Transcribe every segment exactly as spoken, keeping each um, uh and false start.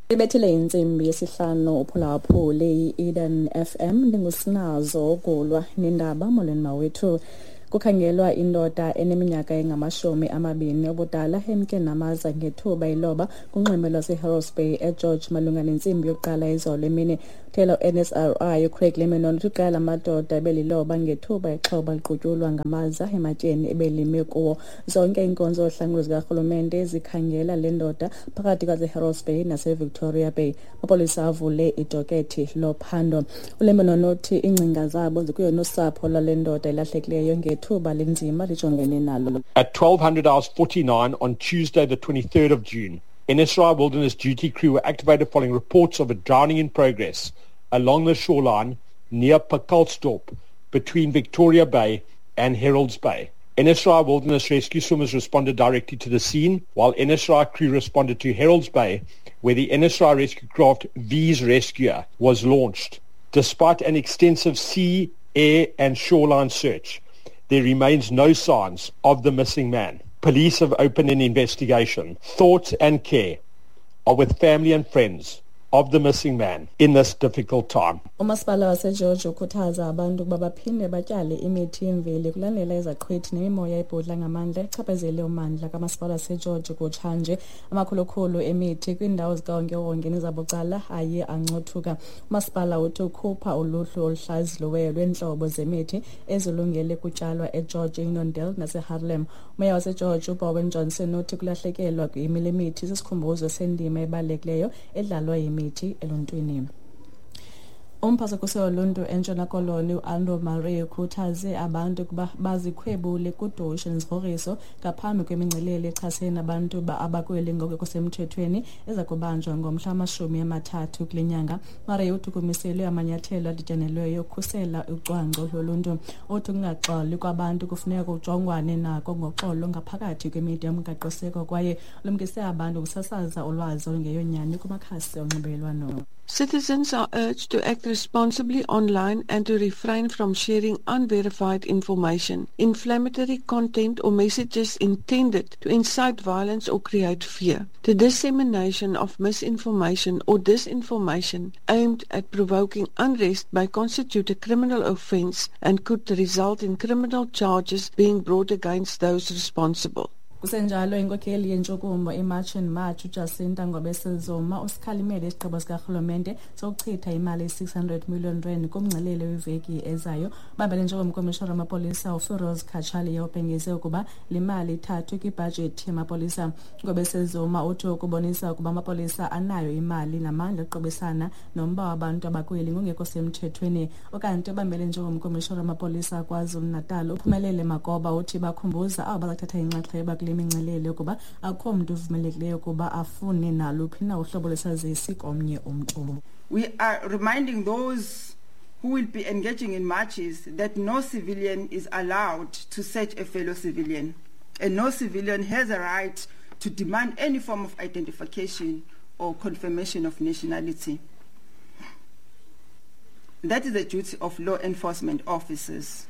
Ibethile intsimbi yesihlanu uphulaphule i-Eden F M ndingusinazo ugulwa nendaba molweni mawethu. Kukhangelwa indoda eneminyaka engamashumi amabini obudala emke namaza ngethuba iloba kunxweme lwaseHerolds Bay eGeorge malunga nentsimbi yokuqala izolo emini. Uthela u-N S R I uCraig Lemmenon uthi iqela lamadoda ebeliloba ngethuba ixhoba liqutyulwa ngamaza ematyeni ebelime kuwo. Zonke iinkonzo zohlangulo zikarhulumente zikhangela le ndoda phakathi kwaseHerolds Bay naseVictoria Bay. Amapolisa avule idokethi lophando. ULemmenon uthi iingcinga zabo zikuyo nosapho lwale ndoda ilahlekileyo ngethuba linzima lijongene nalo. At twelve hundred hours forty-nine on Tuesday the twenty-third of June, N S R I Wilderness Duty Crew were activated following reports of a drowning in progress along the shoreline near Pacaltsdorp between Victoria Bay and Herolds Bay. N S R I Wilderness Rescue Swimmers responded directly to the scene, while N S R I crew responded to Herolds Bay, where the N S R I rescue craft V's Rescuer was launched. Despite an extensive sea, air and shoreline search, there remains no signs of the missing man. Police have opened an investigation. Thoughts and care are with family and friends of the missing man in this difficult time. Umasipala waseGeorge ukhuthaza abantu ukuba baphinde batyale imithi yemveli kulandela izaqhwithi nemimoya ebhudla ngamandla echaphazele ummandla kamasipala waseGeorge kutshanje. Amakhulukhulu emithi kwiindawo zikawonkewonke nezabucala aye ancothuka. Umasipala uthi ukhupha uluhlu oluhlaziyiweyo lweentlobo zemithi ezilungele kutyalwa eGeorge, Unondale naseHarlem. Umeya waseGeorge uBowen Johnson uthi kulahlekelwa yimile mithi sisikhumbuzo sendima ebalulekileyo edlalwa yimithi eluntwini. Umphathi woluntu eNtshona Koloni uAndrew Murray ukhuthaze abantu ukuba bazikhwebule kudushe nezigrogriso ngaphambi kwemingcelele echasene nabantu abakweli ngokungekho semthethweni eza kubanjwa ngomhla wamashumi amathathu kule nyanga. Murray uthi kumiselwe amanyathelo adityanelweyo okukhusela ucwangco loluntu. Uthi ukungaxoli kwabantu kufuneka kujongwane nako ngoxolo ngaphakathi kwemida yomgaqoseko kwaye ulumkise abantu ukusasaza ulwazi olungeyonyani kumakhasi onxibelelwano. Citizens are urged to act responsibly online and to refrain from sharing unverified information, inflammatory content or messages intended to incite violence or create fear. The dissemination of misinformation or disinformation aimed at provoking unrest may constitute a criminal offense and could result in criminal charges being brought against those responsible. Kusenjalo inkokheli yentshukumo iMarch and March uJacinta Ngobese-Zuma usikhalimele isigqibo sikarhulumente sokuchitha imali eyi-six hundred million rand kumngcelele weveki ezayo. Bambele njengomkomishara wamapolisa uFiroz Cachalia ubhengeze ukuba le mali ithathwe kwibhajethi yamapolisa. Ngobese-Zuma uthi ukubonisa ukuba amapolisa anayo imali namandla okuqubisana nomba wabantu abakweli ngongekho semthethweni. Ukanti obambele njengomkomishara wamapolisa KwaZulu-Natal uPhumelele Makoba uthi bakhumbuza abo bazakuthatha inxaxheba kule mingcelele ukuba akukho mntu uvumelekileyo ukuba afune naluphi na uhlobo lwesazisi komnye umntu. We are reminding those who will be engaging in marches that no civilian is allowed to search a fellow civilian, and no civilian has a right to demand any form of identification or confirmation of nationality. That is the duty of law enforcement officers.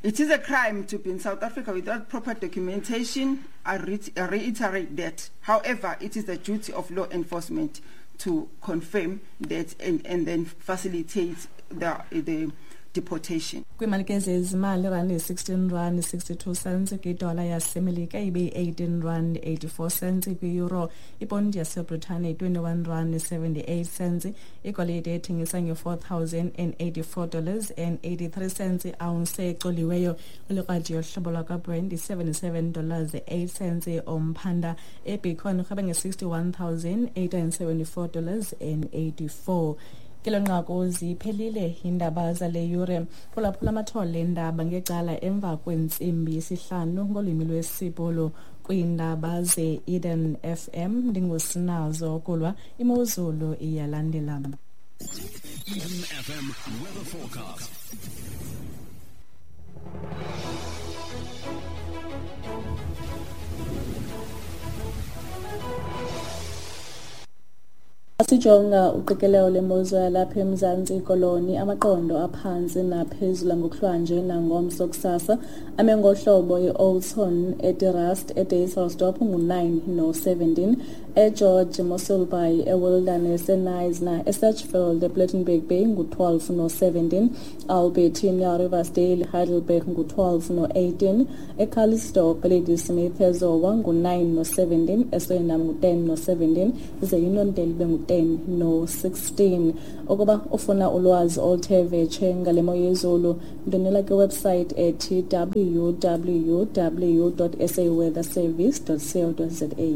It is a crime to be in South Africa without proper documentation. I, re- I reiterate that. However, it is the duty of law enforcement to confirm that and, and then facilitate the, the deportation. Kwiimali ke zezimali irandi yi-sixteen rand sixty-two cents kwidola yasemelika ibe yi-eighteen rand eighty-four cents kwi-euro. Iponti yaseBritane yi-twenty-one rand seventy-eight cents. Igolide ethengisa nge-four thousand and eighty-four dollars and eighty-three cents i-ounce ecoliweyo. Ulikrwadi yohlobo lwakwaBrent yi-seventy-seven dollars eight cents umphanda. EBitcoin irhweba nge-sixty-one thousand eight hundred and seventy-four dollars and eighty-four. Kelo nqaku ziphelile iindaba zale yure. Phulaphula amathole eendaba ngecala emva kwentsimbi yesihlanu ngolwimi lwesiBhulu kwiindaba ze-Eden F M. Ndingusinazo kulwa imozulu iyalandela. Eden F M weather forecast. Sijonga uqikelelo lemozulu yalapha eMzantsi Koloni, amaqondo aphantsi naphezulu ngokuhlwanje nangomso kusasa ame ngohlobo i-Oudtshoorn, eDe-Rust, eDysselsdorp ngu-nine no-seventeen, eGeorge, Mossel Bay, eWilderness, eKnysna, eSedgefield, ePlettenberg Bay ngu-twelve no-seventeen, Albertina, Riversdale, Heidelberg ngu-twelve no-eighteen, eCalitzdorp, Ladysmith, eZowa ngu-nine no-seventeen, eSwellendam ngu-ten no-seventeen, ize iNondele ibe ngu-ten no-sixteen. Ukuba ufuna ulwazi oluthe vetshe ngale mo yezulu, ndonela kwiwebsite ethi w w w dot s a weather service dot co dot z a.